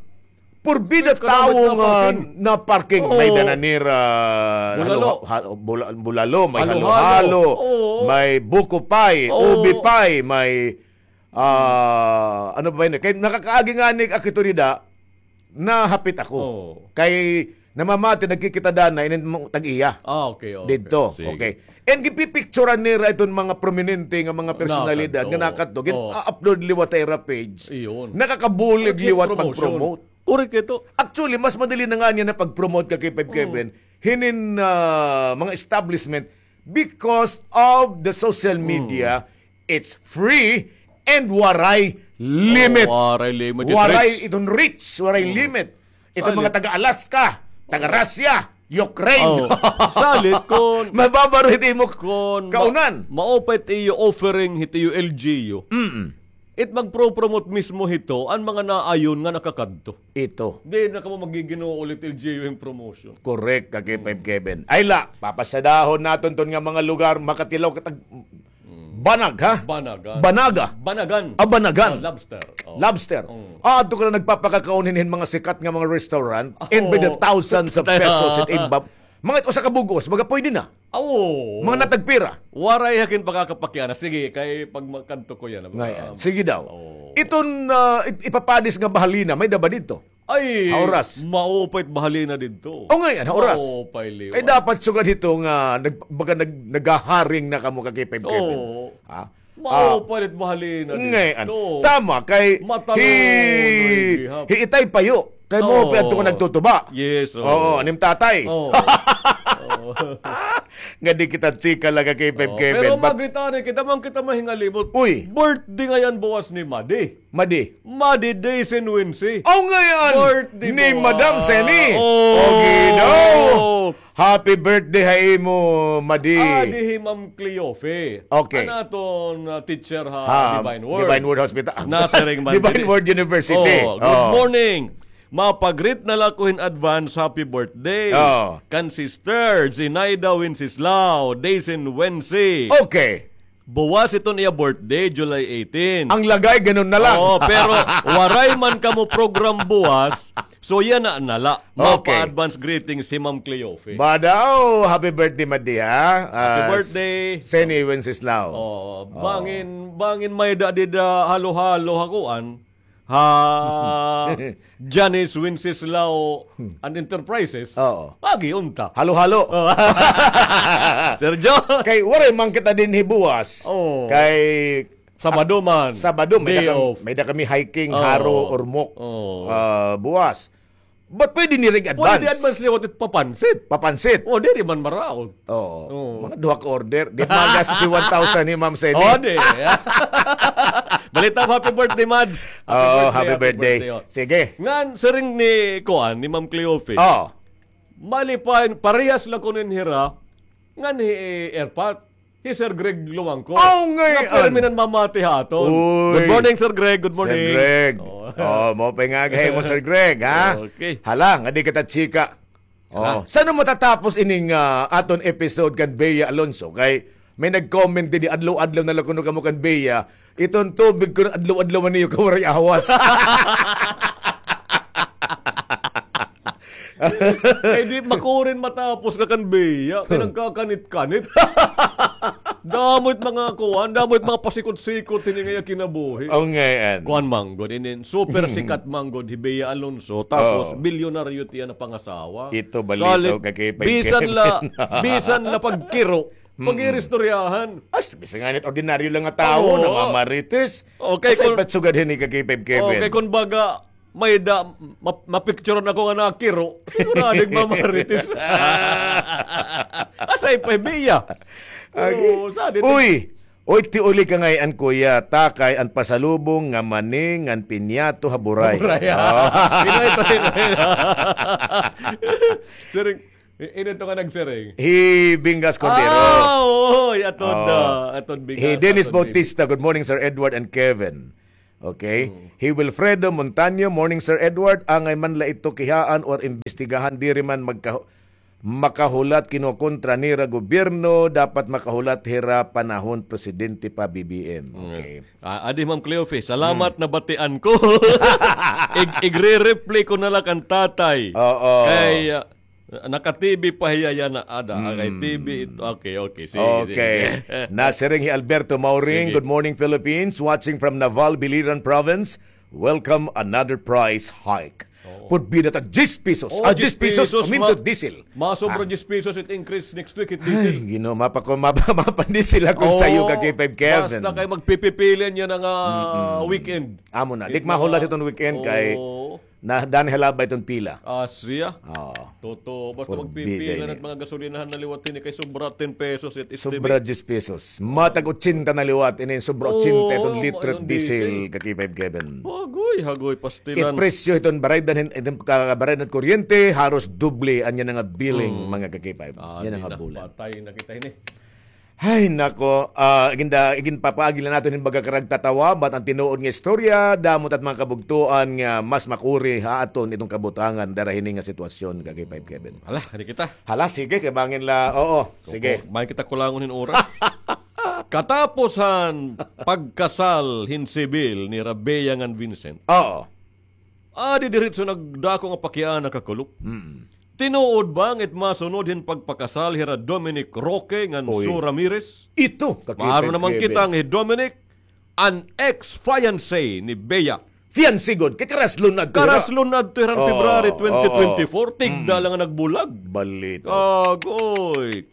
purbida tawo nga na-parking. May dananira, bulalo, may halo-halo, may buko pie, ubi pie, may Ah, ano ba yun? Kay nakakaagi nga ni akito dida, nahapit ako. Oo. Kay namamati, nagkikita dana, inin mo tag-iya. Ah, okay, okay. Didto, okay. And gipipicturan nira iton mga prominente nga mga personalidad nga nakadto, gin-upload liwat ha ira page. Iyon. Nakakabulig liwat pag-promote. Correct ito. Actually, mas madali na nga niya na pag-promote ka kay Five Kevin, hinin, ah, mga establishment because of the social media. It's free and waray limit. Oh, waray limit. Waray iton reach, waray limit. Iton mga taga Alaska, taga Russia, Ukraine. Oh. Salit kon mababa ro hit imo kon kaunan. Maupay it iyo offering hit iyo L G U. Mm. It magpro-promote mismo hito an mga naayon nga nakakadto. Ito. Di na kamo magiginuo ulit L G U hin promotion. Correct, ka K five Kevin. Ay la, papasadahon naton ton nga mga lugar, makatilaw katag Banag, ha? Banagan. Banaga. Banagan. Ah, banagan. Oh, lobster. Oh. Lobster. Mm. Ah, adto ka na nagpapakakaon hin mga sikat nga mga restaurant and by the thousands of pesos it imbab. Mga usa ka bug-os, baga pwede na. Oo. Mga natagpira. Waray hakin pagkakapakiana. Sige, kay pag makadto ko yan. Ngayon, sige daw. Iton, ah, ip-, ipapadis nga bahalina, may da ba didto? Ay, ha oras. Maupay it bahalina didto. O, ngay-an, ha oras. Maupay liwat. Kay dapat sugad hito nga nag-, baga nag-, naghaharing na kamo ka K five Kevin. Oo. Ha? Maupay it bahalina didto. Ngay-an. Tama, kay hi, hi Itay Payo. Kay maupay adto nga nagtutuba. Yes, oo. Oo, anim tatay. Oo. Nga di kita chika la ka K five Kevin. Pero magritari kita, man kita mahingalimot. Uy. Birthday ngay-an buwas ni Madi. Madi. Madi Day Sin Wincy. Aw, ngay-an. Birthday ni Madam Seni. Oh. Ogi daw. Happy birthday ha imo, Madi. Adi hi Ma'am Cleofe. Okay. An aton, uh, teacher ha Divine Word. Divine Word Hospital. Nasiring man Divine Word University. Oh, good morning. Mapagrit na la ko hin advance happy birthday. Oh. Kan Sister Zinaida Wenceslao, Day Sin Wency. Okay. Buwas iton iya birthday, July eighteen. Ang lagay, ganun na lang. Oo, pero waray man kamo program buwas, so yana na la. Okay. Mapa-advance greetings hi Ma'am Cleofe. Ba daw, happy birthday, Madi, ha? Happy birthday. Seni Wenceslao. Oo, bangin, bangin may da dida halo-halo ha kuan. Ha Janice Wenceslao and Enterprises. Oo. Agi unta. Halo-halo. Oo. Sergio. Kay waray man kita dinhi buwas. Oo. Kay Sabado man. Sabado, may da kami hiking, Jaro, Ormoc. Oo. Ah, buwas. But pwede ni rig advance. Pwede advance liwat it papansit. Papansit. O, diri man maraot. Oo. Oo. Mga duha ka order. Di magas si one thousand ni Ma'am Seni. O, di. Balita, happy birthday, Mads. Oo, happy birthday, happy birthday. Sige. Ngan, siring ni kuan, ni Ma'am Cleofe. Oo. Malipayon, parehas la kuno hira, ngan hi Erpat. Hi Sir Greg Luwangco. Aw, ngay-an. Nga pirmi nan mamati ha aton. Uy. Good morning, Sir Greg. Good morning. Sir Greg. Oh. Oh, maupay nga aga ha imo, Sir Greg, ha? Okay. Hala, nga di kita chika. Oh, san-o matatapos ining, ah, aton episode kan Bea Alonso? Kay may nag-comment didi, adlaw-adlaw na la kuno kamo kan Bea. Iton tubig kuno adlaw-adlaw man niyo ka waray awas. Kay di makurin matapos ka kan Bea, kay nagkakanit-kanit. Damo it mga kuan, damo it mga pasikot-sikot hini nga iya kinabuhi. O, ngay-an. Kuan man gud, inin super sikat man gud hi Bea Alonso, tapos bilyonaryo it iya napangasawa. Ito balita ka kay bisan la, bisan la pagkiro, pag-iristoryahan. As, bisan nga nit ordinaryo lang nga tawo, namamarites. Okay, asa kon ipatsugad hini ka kay Kevin? Okay, kon baga, May da, ma-, mapicturean ako nga nakiro. Sigurado nga mamarites. Asay pa, Bea. Agi. Oo, sa dito. Uy! Uy, ti uli ka ngay-an, kuya. Takay an pasalubong nga mani ngan pinyato ha buray. Buray, ah. Oo. Pinoy to, Pinoy. Siring, i-, ino to nga nagsiring? Hi Bingas Cordero. Ah, oo, atod, ah, atod Bingas, hi Dennis Bautista, good morning, Sir Edward and Kevin. Okay. Mm. Hi Wilfredo Montaño, morning, Sir Edward. Angay man la ito kihaan or imbestigahan, diri man magka-, makahulat kinokontra nira gobyerno, dapat makahulat hira panahon presidente pa, B B M. Mm. Okay. Ah, adi, Ma'am Cleofe, salamat, nabatian ko. Ig-, igre-replay ko na la kan tatay. Oo. Kay, ah, Naka-T V pa hiya yana, ada. Kay T V ito. Okay, okay. Sige, sige. Nasiring hi Alberto Mauring, good morning, Philippines. Watching from Naval, Biliran Province. Welcome another price hike. Oo. Pud bida tag diyes pesos. Oo, ah, diyes pesos, diyes pesos, aumento diesel. Masobra diyes pesos it increase next week it diesel. Ay, Ginoo, mapako-, mapa-, mapandiesel ako sayo ka K five Kevin. Basta kay magpipipili niya na nga weekend. Amo na. Di ko mahulat iton weekend kay na, dani halaba iton pila. Ah, siya? Oo. Totoo. Basta magpipila na it mga gasolinahan na liwat hini kay sobra ten pesos it estimate. Sobra diyes pesos. Matag otsenta na liwat ini, sobra otsenta iton litro diesel, ka K five Kevin. Hagoy, hagoy, pastilan. It presyo iton baraydan hin-, iton ka-, baraydan kuryente, haros doble an yana nga billing, mga ka K five. Ah, yana nga bulan. Patay na kita hini. Ay, nako, ah, iginda-, iginpapaagi la naton hin baga karagtatawa, bat an tinuod nga istorya, damo it at mga kabugtoan nga mas makuri ha aton iton kabutangan dara hini nga sitwasyon, ka K five Kevin. Hala, kani kita. Hala, sige, kay bangin la, oo, sige. Bangin kita kulangon hin oras. Katapos han pagkasal hin sibil nira Bea ngan Vincent. Oo. Adi diretso nagdako nga pakiana ka kulop. Mm. Tinuod ba nga it masunod hin pagpakasal hira Dominic Roque ngan Sue Ramirez? Ito, maaram naman kita nga hi Dominic, an ex-fiancé ni Bea. Fiancé gud, kay karaslon adto hira. Karaslon adto hira February twenty twenty-four, tigda la nga nagbulag. Balita. Agoy.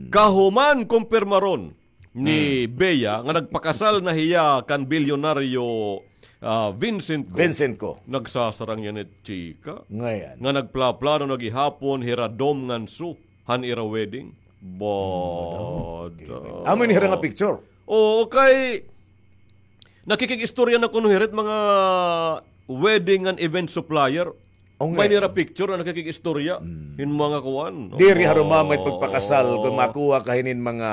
Kahuman kumpirmaron ni Bea nga nagpakasal na hiya kan bilyonaryo, ah, Vincent Co. Vincent Co. Nagsasarang yana it chika. Nga nagplaplano na gihapon hira Dom ngan Sue han ira wedding. Bada. Amo ini hira nga picture. Oo, kay nakikig-istorya na kuno hira it mga wedding ngan event supplier. May nira picture na nakikig-istorya hin mga kuan. Diri harumamay pagpakasal kon makuha ka hinin mga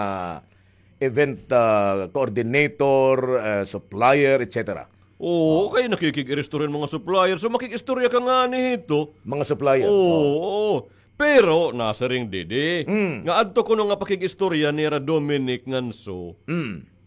event, ah, coordinator, ah, supplier, et cetera. Oo, kay nakikig-istorya hin mga supplier. So, makig-istorya ka ngani hito. Mga supplier. Oo. Pero, nasiring didi, nga adto kuno nga pakig-istorya nira Dominic ngan Sue.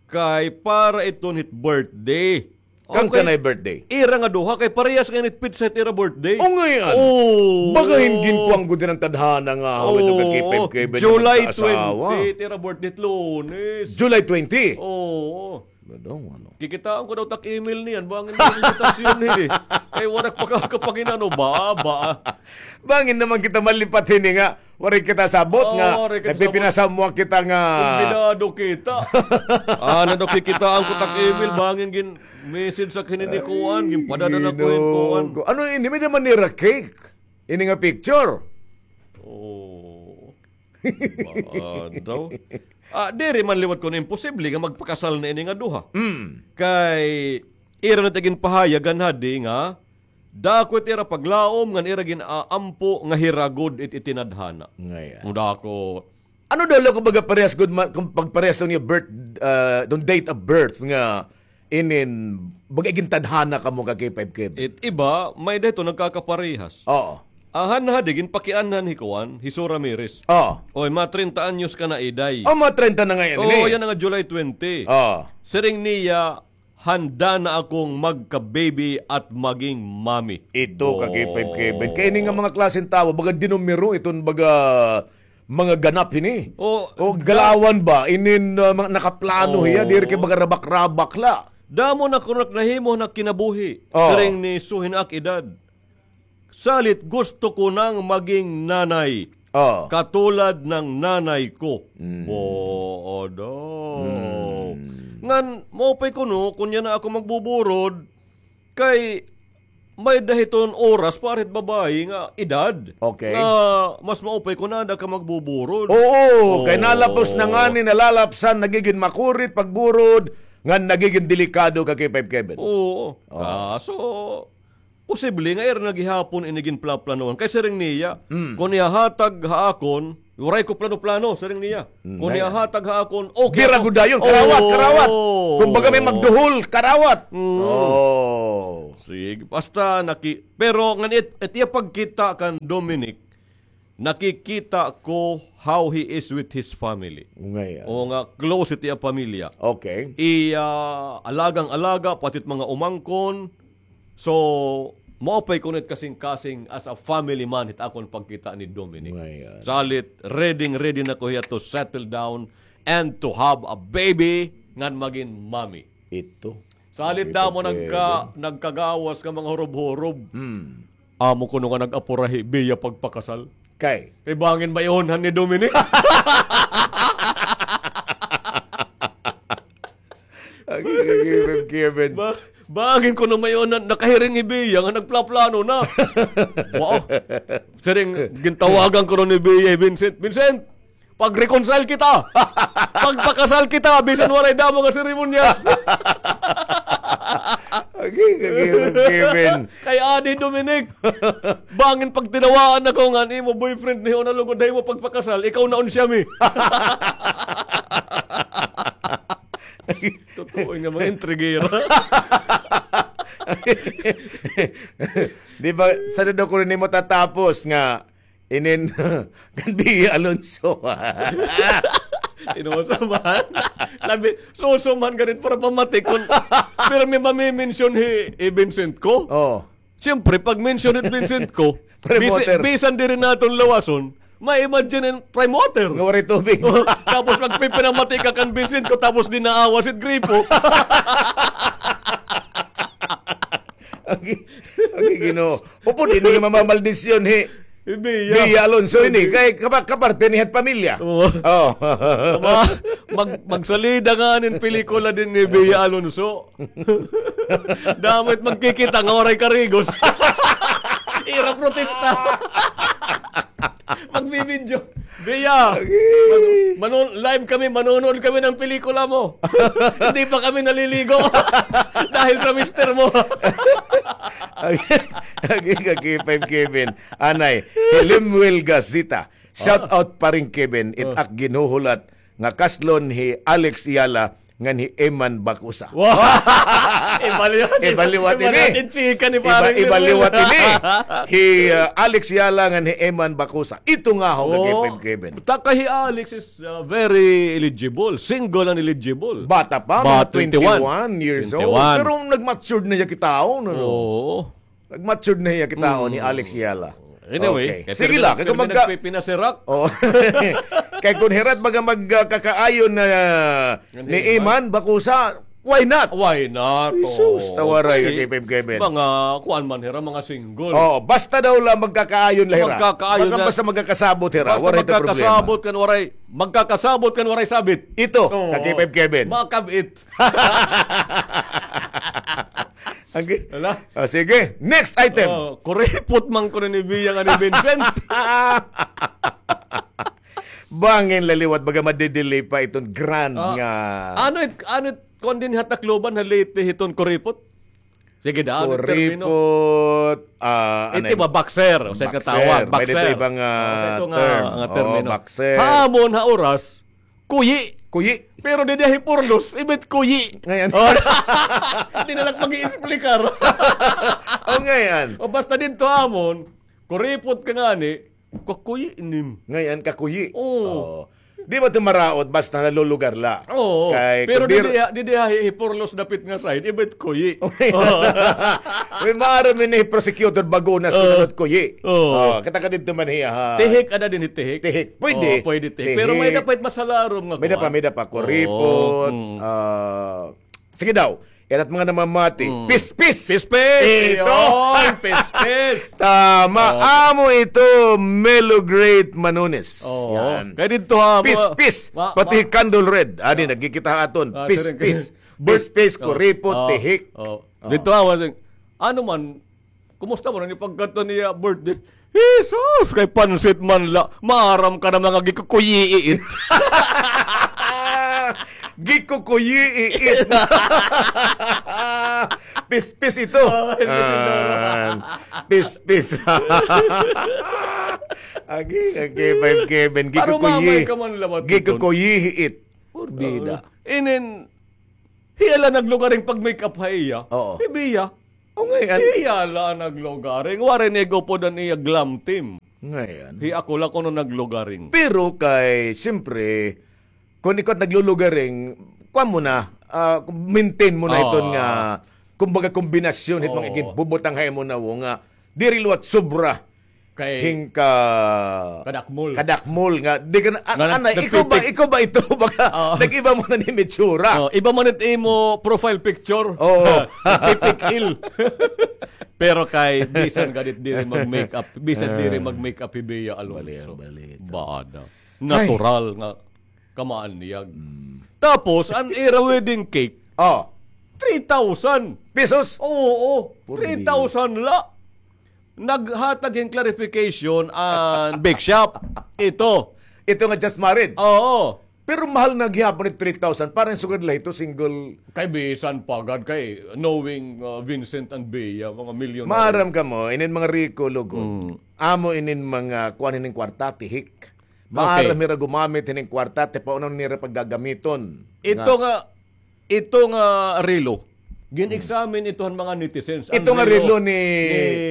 Kay para iton hit birthday. Kan kanay birthday? Ira nga duha, kay parehas ngay-an it petsa hit ira birthday. O, ngay-an. Oo. Baga hin ginkuan gud hin an tadhana nga, haw, ito ka K five Kevin, July twenty, it ira birthday it Lunes. July twenty? Oo. Madong, ano? Kikitaan ko daw tak email niyan, bangin na invitasyon hini. Kay waray pa ka kapanginano, ba, ba. Bangin naman kita malipat hini nga, waray kita sabot nga, nagpipinasamwa kita nga. Kumbidado kita. Ah, na daw kikitaan ko tak email, bangin gin-message sa kini ni kuan, ginpadadala ko hin kuan. Ano ini, may naman nira cake? Ini nga picture. Oh. Ba daw? Ah, diri man liwat kuno imposible nga magpakasal na ini nga duha. Mm. Kay, ira na it ginpahayag han hadi nga, dako it ira paglaom ngan ira gin-aampo nga hira gud it itinadhana. Ngay-an. Dako. Ano daw la, kumbaga, parehas gud ma-, kung pagparehas lang niya birth, ah, itong date of birth nga inin, baga, gintadhana kamo ka K five Kevin. It iba, may-ada ito nagkakaparehas. Oo. An han hadi, ginpakianhan hi kuan, hi Sue Ramirez. Oo. Oy, mga treinta anyos ka na, Iday. Oh, mga treinta na ngay-an ini. Oo, yana nga July twenty. Oo. Siring niya, handa na akong magka-baby at maging mommy. Ito ka K five Kevin. Kay ini nga mga klaseng tawo, baga dinumero iton baga mga ganap hini. O, galawan ba? Inin, ah, mga nakaplano hiya, diri kay baga rabak-rabak la. Damo na kuno nahimo na kinabuhi. Oh. Siring ni Sue hin ak edad. Salit gusto ko nang maging nanay. Oh. Katulad ng nanay ko. Mm. Bo, odo. Mm. Ngan, maupay kuno, kun yana ako magbuburod, kay may-ada hiton oras para hit babaye nga edad. Okay. Nga mas maupay kon aada ka magbuburod. Oo, kay nalapos na ngani, nalalapsan, nagigin makurit pagburod, nga nagigin delikado ka, K five Kevin. Oo. Oo. Ah, so, posible nga ira na gihapon ini ginplaplanohan. Kay siring niya, kon ihahatag ha akon, waray ko plano-plano, siring niya. Kon ihahatag ha akon, okay ako. Bira gud dayon, karawat, karawat. Kumbaga may magduhol, karawat. Oo. Sige, basta naki-, pero ngan it, it iya pagkita kan Dominic, nakikita ko how he is with his family. Ngay-an. O nga, close it iya pamilya. Okay. Iya alagang-alaga, pati it mga umangkon. So, maupay kuno it kasingkasing as a family man, it akon pagkita ni Dominic. Ngay-an. Salit, ready, ready na ko hiya to settle down and to have a baby ngan magin mommy. Ito. Salit damo nagka-, nagkagawas nga mga hurob-hurob. Amo kuno nga nag-apura hi Bea pagpakasal. Kay? Kay bangin maihunhan ni Dominic. Agi, agi, Kevin. Ba-, bangin kuno maihunhan, nakahiring hi Bea nga nagplaplano na. Wow. Siring, gintawagan kuno ni Bea hi Vincent. Vincent, pag-reconcile kita. Pagpakasal kita, bisan waray damo nga seremonyas. Agi, agi, Kevin. Kay adi, Dominic. Bangin pagtinawaan ako nga an imo boyfriend ni una lugod ha imo pagpakasal, ikaw na unsiya mi. Totoo nga mga intrigera. Di ba, sa daw ko rin mo tatapos nga Inin, kan Bea Alonso. Inuso man. Labi, suso man ganit para pamati kon pirmi mami-mention hi, hi Vincent ko. Oh. Siyempre, pag mention hi Vincent ko, bisi-, bisan diri naton lawason, ma-imagine in prime water. Nga waray tubig. Tapos magpipinamati ka kan Vincent ko, tapos di naawas it gripo. Agi, agi, Ginoo. Upod ini nga mamamaldisyon hi Bea. Bea Alonso ini. Kay kapa-, kaparte niya it pamilya. Oo. Oh. Mag-, magsalida nga nin pelikula din ni Bea Alonso. Damo it magkikita nga waray karigos. Ira protesta. Magbibidyo. Bea, man-, manon-, live kami, manonood kami ng pelikula mo. Hindi pa kami naliligo. Dahil sa mister mo. Agi, agi, ka K five Kevin. Anay, hi Lemuel Gazita. Shout out pa rin, Kevin. It ak ginhuhulat nga kaslon hi Alex Yala ngan hi Eman Bakusa. Wow! Iba liwat, iba liwat ini. Iba liwat it chika ni Parang Lemuel. Iba liwat ini. Hi, uh, Alex Yala ngan hi Eman Bakusa. Ito nga ho, ka K five Kevin. Taka hi Alex is, uh, very eligible. Single and eligible. Bata pa, mga twenty-one years old. Pero nag-matured na hiya kitaon, ano? Oo. Nag-matured na hiya kitaon hi Alex Yala. Anyway, sige la, kay kung magka-, nagpipinasirak. Oh. Kay kung hirat baga magkakaayon na, uh, ni Eman Bakusa, why not? Why not? Jesus, tawaray, ka K five Kevin. Mga kuan man hira, mga single. Oh, basta daw la magkakaayon la hira. Magkakaayon na. Basta magkakasabot hira, waray ta problema. Magkakasabot kan waray, magkakasabot kan waray sabit. Ito, ka K five Kevin. Makab-it. Agi. Hala? Ah, sige. Next item. Oh, kuripot man kuno ni Bea ngan ni Vincent. Bangin la liwat baga madidelay pa iton grand nga. Ano it, ano it, kuan din ha Tacloban, ha Leyte, hiton kuripot? Sige, daan it termino. Kuripot, ah, ano it iba, boxer, usa ka tawag, boxer. May dito ibang, ah, term. Usa ito nga termino. Boxer. Ha amon, ha oras, kuyi. Kuyi. Pero didi ha Hiporlos, iba it kuyi. Ngay-an. Oh. Di na la pag-iexplikar. Oh, ngay-an. O basta didto ha amon, kuripot ka ngani, kakuyi nim. Ngay-an, kakuyi. Oo. Oh. Di ba ito maraot, basta nalulugar la? Oo. Kay pero didi ha, didi ha Hiporlos dapit nga side, iba it kuyi. May maaram ini prosecutor Bagunas kun ano it kuyi. Oo. Oh, kita ka didto man hiya, ha. Tihik, ada din hi tihik. Tihik. Pwede. Oo, pwede tihik. Pero may-ada pa it mas halarom nga kuan. May-ada pa, may-ada pa. Kuripot. Oo. Mm. Ah, sige daw. Yan at mga namamati. Mm. Pispis. Pispis. Ito. Yun, pispis. Tama. Oo. Amo ito, Melo Great Manones. Oo. Yan. Kay didto ha, pispis. Pati Candle Red. Adi, nagkikita ha aton. Ah, pispis. Pispis, kuripot, tihik. Oo. Didto ha, ano man, Kumusta man an pagkadto niya birthday? Jesus, kay pansit man la. Maaram ka na mga gikukuyiit. Gikukuyiit. Pispis ito. Oh, pispis ito. Ah, pispis. Agi, agi, five Kevin. Parang mamay ka man lawat iton. Gikukuyiit. Porbida. Inin, hiya la naglugaring pag-make-up ha iya. Oo. Hi Bea. O, ngay-an. Hiya la naglugaring. Waray nag-upod an iya glam team. Ngay-an. Hi ako la kuno naglugaring. Pero kay, siyempre, kun ikaw naglulugaring, kuan mo na, ah, maintain mo na iton nga, kumbaga, kombinasyon, hit mga iginbubutang ha imo na wo nga, diri liwat sobra. Kay hingka kadakmol. Kadakmol nga. Di ka na, an-, anay, ikaw ba, ikaw ba ito? Baka nag-iba mo na ni itsura. Oh, iba man it imo profile picture. Oo. Tipik-il. Pero kay, bisan gadit diri mag-makeup, bisan diri mag-makeup hi Bea Alonzo. Bali, bali ito. Baada. Natural nga kamaanyag. Tapos, an ira wedding cake, oh, three thousand. Pesos? Oo, three thousand la. Naghatag hin clarification an bake shop. Ito. Ito nga just married. Oo. Pero mahal na gihapon it three thousand. Parang sugad la ito, single. Kay bisan pa gad kay knowing, uh, Vincent and Bea, mga milyonaryo. Maaram kamo, inin mga riko, lugod. Mm. Amo inin mga kuan hinin kwarta, tihik. Maaram hira gumamit hinin kwarta, ti paano nira paggagamiton. Ito nga, ito nga relo, gin-examine ito han mga netizens. Ito nga relo ni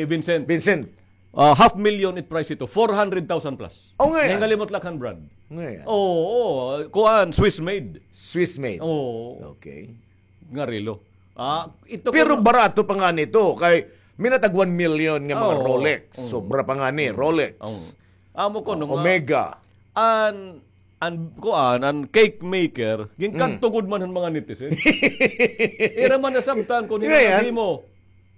Vincent. Vincent. Ah, half million it price ito, four hundred thousand plus. O, ngay-an. Nahingalimot la han brand. Ngay-an. Oo, oo, kuan, Swiss made. Swiss made. Oo. Okay. Nga relo. Ah, ito. Pero barato pa ngani ito, kay minatag one million nga mga Rolex. Sobra pa ngani, Rolex. Amo kuno nga Omega. An, an, kuan, an cake maker, ginkadto gud man han mga netizen. Ira man nasabtan kun hin-o naghimo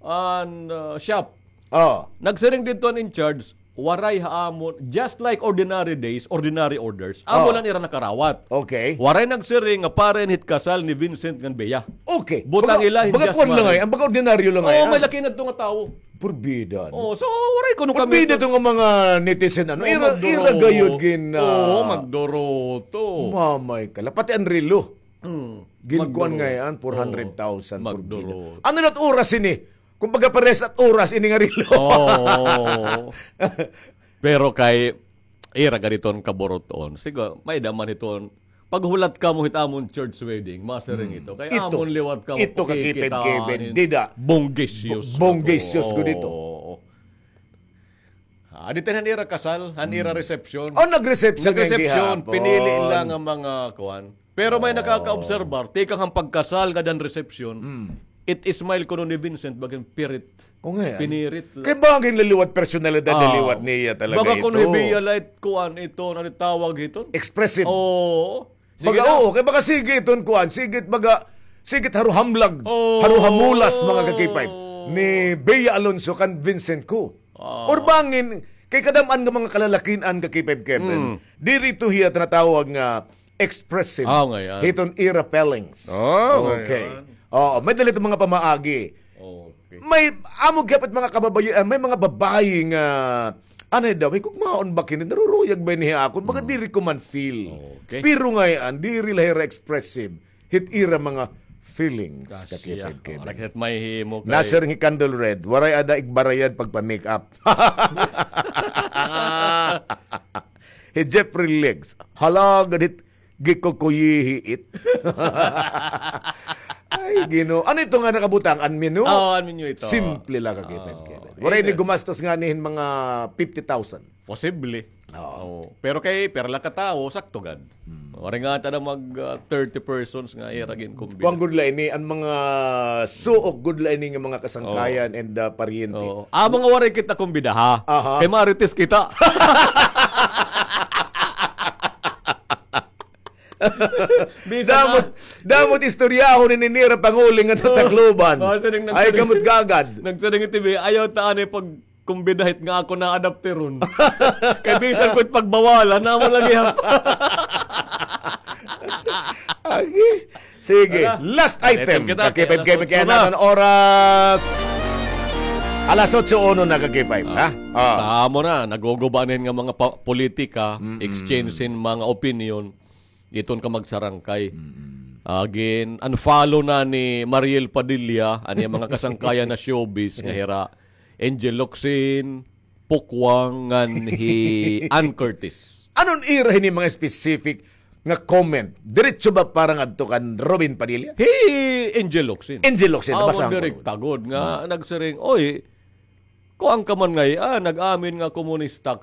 an, ah, shop. Oh. Nagsiring didto an in charge, waray ha amon, just like ordinary days, ordinary orders. Amo la an ira nakarawat. Okay. Waray nagsiring nga para ini hit kasal ni Vincent ngan Bea. Okay. Butang ila hin just married. Baga kuan la ngay-an, baga ordinaryo la ngay-an. Oo, may la kinadto nga tawo. Porbida, no? Oo, so, waray kuno kami. Porbida ito nga mga netizen, ano? Ira, ira gayod gin, ah, oo, magduruto. Mamay ka la. Pati an relo. Mm. Ginkuan ngay-an, four hundred thousand, porbida. Ano na it oras ini? Kumbaga, parehas na it oras ini nga relo. Oo. Pero kay, ira gad iton kaburuton. Siguro, may-ada man iton. Paghulat kamo hit amon church wedding, masiring ito. Kay amon liwat kamo pakikitaan. Ito, kakipid-kipid. Dida. Bonggisios. Bonggisios gud ito. Oo. Ah, didto han ira kasal, han ira reception. Oh, nag-reception. Nag-reception, pinili la nga mga kuan. Pero may nakakaobserbar, tikang han pagkasal ngada han reception, it smile kuno ni Vincent, baga hin pirit. O, ngay-an. Pinirit la. Kay bangin la liwat personalidad la liwat niya talaga ito. Baga kuno hi Bea la it kuan ito, ano it tawag hiton? Expressive. Oo. Baga, oo, kay baga sige iton kuan, sige it baga, sige it haruhamlag, haruhamulas, mga ka-K five, ni Bea Alonzo kan Vincent ko. Or bangin, kay kadam-an nga mga kalalakin-an ka-K five Kevin, diri ito hiya tinatawag nga expressive hiton ira feelings. Okay. Oo, may-ada la iton mga pamaagi. Okay. May, amo gihap it mga kababayi-, ah, may mga babayi nga, anay daw, higugmaon ba kini, naruruyag ba ini ha akon, baga diri ko man feel. Okay. Pero ngay-an, diri la hira expressive hit ira mga feelings, ka-K five Kevin. Nasiring hi Candle Red, waray ada igbarayad pagpa-makeup. Hi Jeffrey Legs, hala, gad hit gikukuyihi it. Ay, Ginoo. Ano ito nga nakabutang? An menu? Oo, an menu ito. Simple la, ka-K five Kevin. Waray ini gumastos ngani hin mga fifty thousand. Posible. Oo. Pero kay pira la ka tawo, sakto gad. Waray nga ata na mag, ah, thirty persons nga ira ginkumbida. Kuan gud la ini, an mga suok gud la ini nga mga kasangkayan and, ah, paryente. Oo. Amo nga waray kita kumbida, ha? Aha. Kay marites kita. Damo it, damo it istoryahon ini nira panguling nga Tacloban. Ay, kamot gagad. Nagsiring it T V, ayaw ta anay pagkumbida hit nga ako naadapteron. Kay bisan ko it pagbawalan, amo la gihap. Agi. Sige, last item. Ka-K five Kevin, kay an oras. Alas otso uno na ka K five, ha? Ah. Tamo na, naguguba na hin nga mga pa-, politika, exchange hin mga opinion, iton ka magsarangkay. Again, unfollow na ni Mariel Padilla, an iya mga kasangkayan na showbiz nga hira Angel Locsin, Pukwang, ngan hi Ann Curtis. Ano an ira hini mga specific nga comment? Diretso ba para ngadto kan Robin Padilla? Hi Angel Locsin. Angel Locsin, amo, nabasa ko direkta gud nga nagsiring, "Oy, kuan ka man ngay-an, nag-amin nga komunista ka."